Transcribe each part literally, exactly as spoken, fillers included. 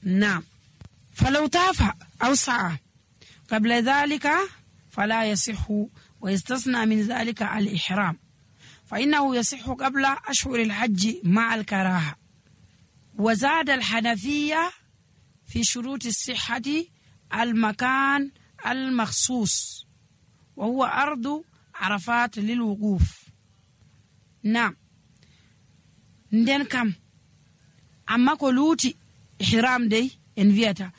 نعم. فلو طاف أو سعى قبل ذلك فلا يصح، ويستثنى من ذلك الإحرام، فإنه يصح قبل أشهر الحج مع الكراهة. وزاد الحنفية في شروط الصحة المكان المخصوص، وهو أرض عرفات للوقوف. نعم. ندن كم أما كلوتي إحرام دي انفيتا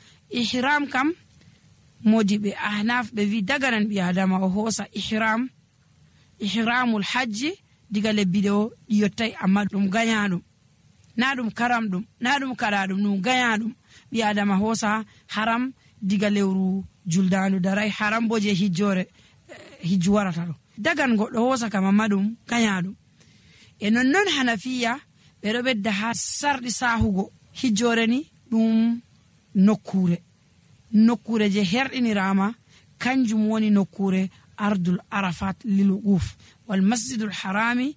إحرام كم موجب أحناف بفي دغران بيادم وهوسا إحرام إحرام الحج ديغال بيدو يوتاي أما دوم غانيادوم نادوم كرام دوم نادوم كرادوم نو غانيادوم بيادم هوسا حرام diga lewru juldanu darai haram boje hijjore hijwarata do dagan goddo hosa kama madum kanyadum e non non hanafiya be do bedda ha sardi sahugo hijjore ni dum nokkure nokkure je herdinirama kanjum woni nokkure ardul arafat lil wuquf wal masjidul harami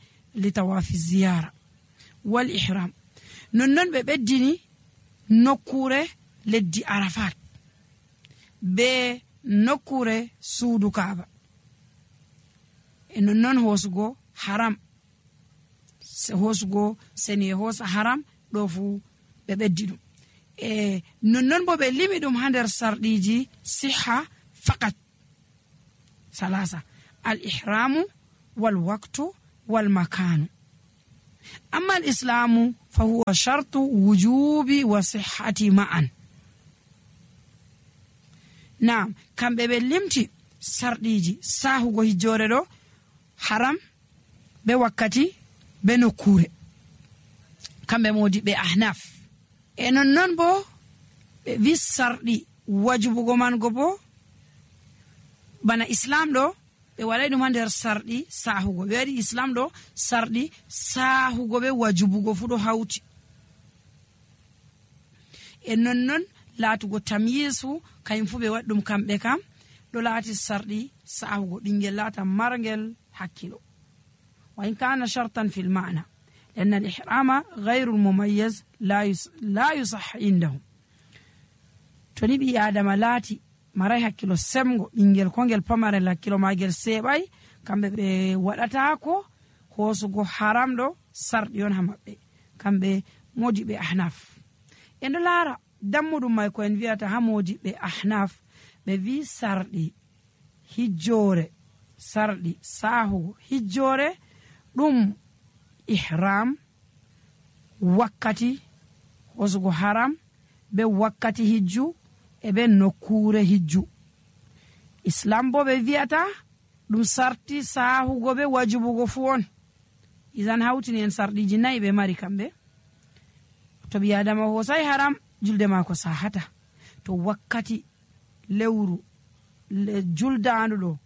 li tawafi ziyara wal ihram non non be beddini nokkure leddi arafat be nokkure suudu kaaba e non non hosugo haram se hosugo seni hosa haram do fu be beddi dum e non non bo be limi dum hander sardiji siha faqat salasa al ihramu wal waqtu wal makanu. amma al islamu fa huwa shartu wujubi wa sihhati ma'an. Naam, kambe be limti sardiji sahugo hijjore do haram be wakkati be nokkure kambe modi be ahnaf e non non bo be wi sardi wajibugo man go bo bana islam do be walay dum hander sardi sahugo be wadi islam do sardi sahugo be wajibugo fu do hawti e non non laatugo tamyisu kayim fu be waddum kambe kam do laati sardi sahugo dingel laata margel hakkilo. wa in kana shartan fil ma'na لأن الإحرام غير المميز لا يص... لا يصح عندهم. toni bi adama laati maray hakkilo semgo dingel kongel pamare la kilo magel sebay kambe be wadata ko hosugo haram do sardi on hamabbe kambe modi be ahnaf endo lara dammudum may ko en wiata hamodi be ahnaf be wi sardi hijjore sardi sahu hijjore dum ihram wakkati hosugo haram be wakkati hijju e be nokkure hijju. islam bo be wiata dum sarti sahugo be wajibugo fu on izan hawtini en sardiji nay be mari kambe to bi adama hosay haram julde mako sahata to wakkati lewru le juldaandu do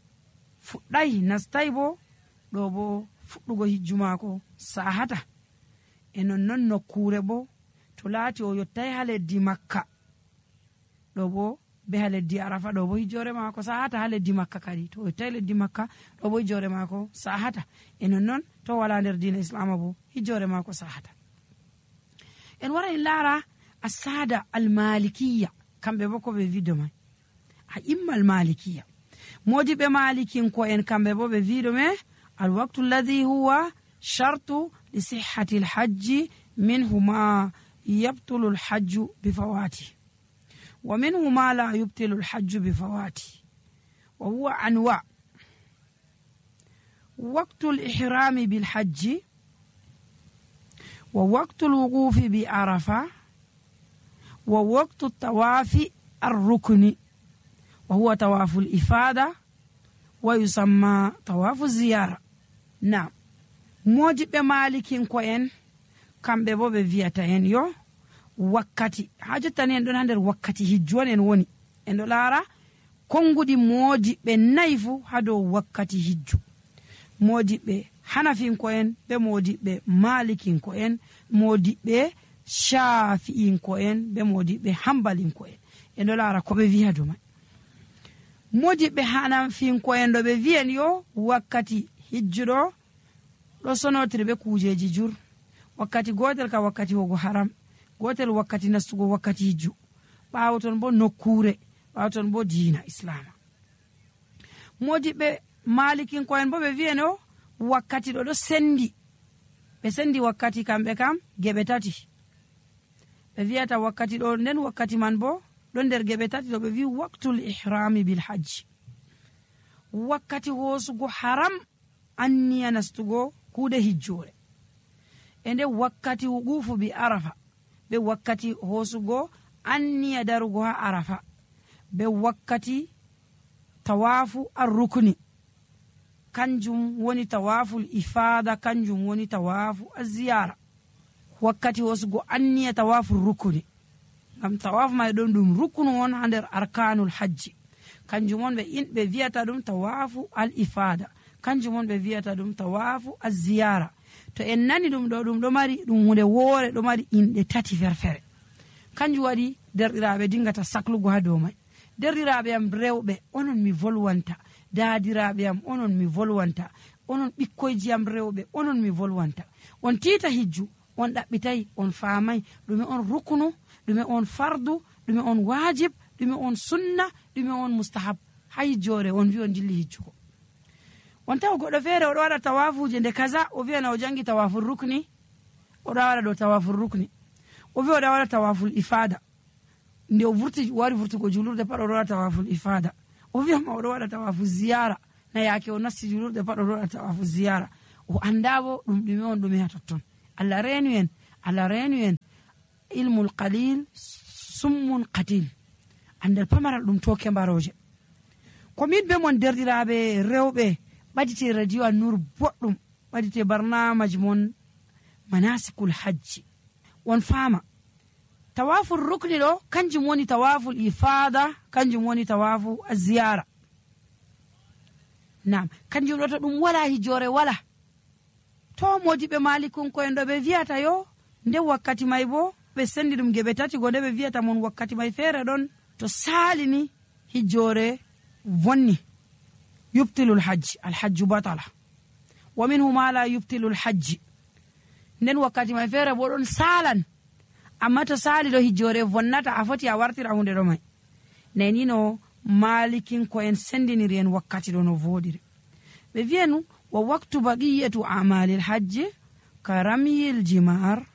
fuddai nastai bo do bo fuddugo hijju mako sahata e non non nokkure bo to laati o yottay haleddi makka do bo be haleddi arafa do bo hijjore mako sahata haleddi makka kadi to yottay leddi makka do bo hijjore mako sahata e non non to wala nder diina islam bo hijjore mako sahata. en wara en lara السادة المالكية كم بيبوكو بفيديو ماي أئمة المالكية موجب مالكين كوين كم بيبو بفيديو ماي الوقت الذي هو شرط لصحة الحج منه ما يبطل الحج بفواته ومنه ما لا يبطل الحج بفواته وهو أنواع. وقت الإحرام بالحج ووقت الوقوف بعرفة ووقت الطواف الركن وهو طواف الإفادة ويسمى طواف الزيارة. نعم موجب مالكين كوين كم بيبو بفياتا ين يو وكاتي حاجة تانية دون هندر وكاتي هجوان ين وني اندو لارا كونغو دي موجب نايفو هادو وكاتي هجو موجب حنفين كوين بموجب مالكين كوين موجب shafi'in ko en be modibe hanbalin ko en en do lara ko be wi'a duma modibe hanafin ko en do be wi'en yo wakkati hijjudo do sonotiri be kujeji jur wakkati gotel ka wakkati hogo haram gotel wakkati nastugo wakkati hijju ɓaawo ton bo nokkure, ɓaawo ton bo diina islama. modiɓɓe malikinko'en bo ɓe wiyeno wakkati ɗo ɗo sendi, ɓe sendi wakkati kamɓe kam geɓe tati. ɓe wiyata wakkati ɗo, nden wakkati man bo ɗon nder geɓe tati ɗo ɓe wi waqtul ihrami bil hajji, wakkati hoosugo haram anniya nastugo kuuɗe hijjore, e nde wakkati wuqufu bi arafa, be wakkati hoosugo anniya darugo ha arafa, be wakkati tawafu ar-rukni, kanjum woni tawaful ifada, kanjum woni tawafu az-ziyara. wakkati hoosugo anniya tawafu rukni, ngam tawafu may ɗon ɗum ruknu on ha nder arkanul hajji, kanjum on ɓe inɓe wiyata ɗum tawafu al ifada, kanjum on ɓe wiyata ɗum tawafu az-ziyara. to en nani ɗum ɗo, ɗum ɗo mari ɗum hunde woore, ɗo mari inɗe tati ferfere. kanjum waɗi derɗiraɓe dingata saklugo ha dow may. derɗiraɓe am rewɓe, onon mi volwanta, daadiraɓe am onon mi volwanta, onon ɓikkoyji am rewɓe onon mi volwanta, on tiita hijju, on ɗaɓɓitayi, on faamay ɗume on ruknu, ɗume on fardu, ɗume on wajib, ɗume on sunna, ɗume on mustahab. ha hijjore on wi on jilli hijjugo. on tawa goɗɗo feere oɗo waɗa tawafuje nde kaza, o wiyana o jangi tawaful rukni, oɗo waɗa ɗo tawaful rukni, o wi oɗa waɗa tawaful ifada, nde o vurti wari vurtugo julurde pat oɗo waɗa tawaful ifada, o wiyama oɗo waɗa tawaful ziyara, na yaake o nasti julurde pat oɗo waɗa tawaful ziyara. o anda bo ɗum ɗume on ɗume ha totton. allah reenu en, allah reenu en ilmul qalil summun qatil, andal pamaral ɗum toke mbaroje. komin be mon derɗiraɓe rewɓe, ɓadite radio An-Nur boɗɗum, ɓadite barnamaji mon manasikul hajji, on faama tawaful rukni ɗo kanjum woni tawaful ifada, kanjum woni tawafu az-ziyara. nam kanjum ɗo to ɗum wala hijjore wala. to modiɓe malikunko'en ɗo ɓe wiyata yo nde wakkati may bo ɓe sendi ɗum geɓe tati go, nde ɓe wiyata mon wakkati may feere ɗon to salini hijjore vonni, yubtilul hajji, alhajju batala, wa minhu ma la yubtilul hajji. nden wakkati may feere bo ɗon salan, amma to sali ɗo hijjore vonnata, a foti a wartira hunde ɗo may. nani no malikinko'en sendiniri en wakkati ɗo no voɗiri. ɓe wiyanu wa waktu baqiyatu amalil hajji ka ramyil jimar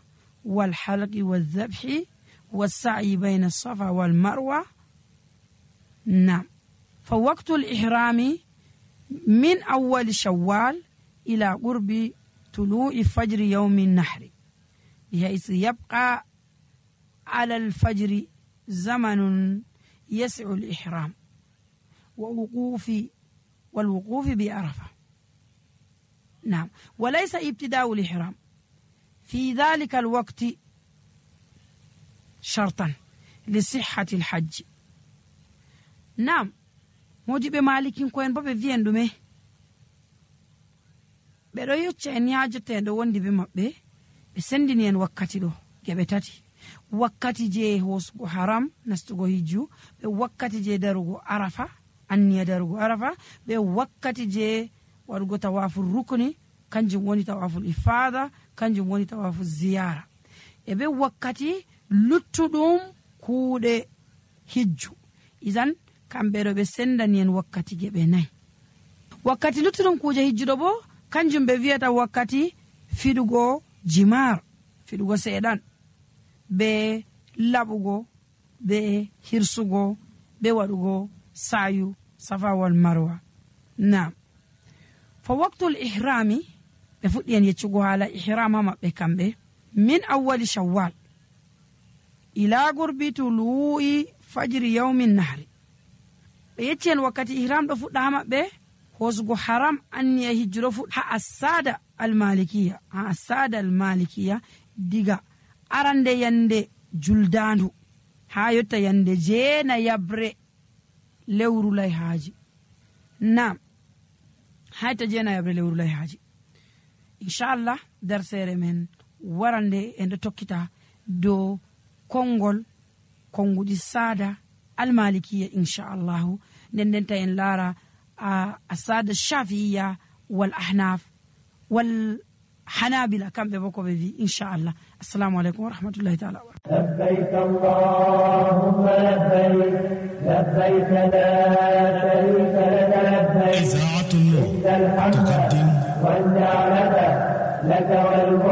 wal halqi wal dhabhi was sa'i bayna as-safa wal marwa. nam fa waqtul ihrami min awwal shawwal ila qurbi tulu'i fajri yawmi an-nahri bihaythu yabqa ala al-fajri zamanun yas'u al-ihram wa wuqufi wal wuqufi bi arafa. نعم وليس ابتداء الإحرام في ذلك الوقت شرطا لصحة الحج. نعم modiɓe malikinko'en bo ɓe wiyan ɗume, ɓeɗo yecca en yajoteɗo wondi be maɓɓe, ɓe sendini en wakkati ɗo geɓe tati. wakkati je hosugo haram nastugo hijju, ɓe wakkati je darugo arafa, anniya darugo arafa, ɓe wakkati je waɗugo tawaful rukni, kanjum woni tawaful ifada, kanjum woni tawaful ziyara, e ɓe wakkati luttuɗum kuuɗe hijju. idan kamɓe ɗo ɓe sendani en wakkati geɓe nayi. wakkati luttuɗum kuuje hijjuɗo bo kanjum ɓe wiyata wakkati fiɗugo jimar, fiɗugo seeɗan, be laɓugo, be hirsugo, be waɗugo sayu safa wal marwa. nam fa waqtul ihrami, ɓe fuɗɗi en yeccugo haala ihram ha maɓɓe kamɓe, min awwali shawwal ila gurbi tulu'i fajri yawmin nahri. ɓe yecci en wakkati ihram ɗo fuɗɗa ha maɓɓe hosugo haram anniya hijju ɗo fuɗɗa ha assada almalikiya, ha assada almalikiya diga arande yande juldandu ha yotta yande jeena yabre lewru layhaji. nam hayta jeena yabre lewru layhaji. inchallah darsere men warande en ɗo tokkita dow konngol konguɗi sada almalikiya inchallahu. nden ndenta en laara a sada shafiya wal ahnaf wal hanabila kamɓe bo ko ɓe wi inchallah. assalamu aleykum wa rahmatullahi taala wa لبيك اللهم لبيك لبيك لا شريك لك لبيك إذاعة النور إن الحمد تقدم والنعمة لك والملك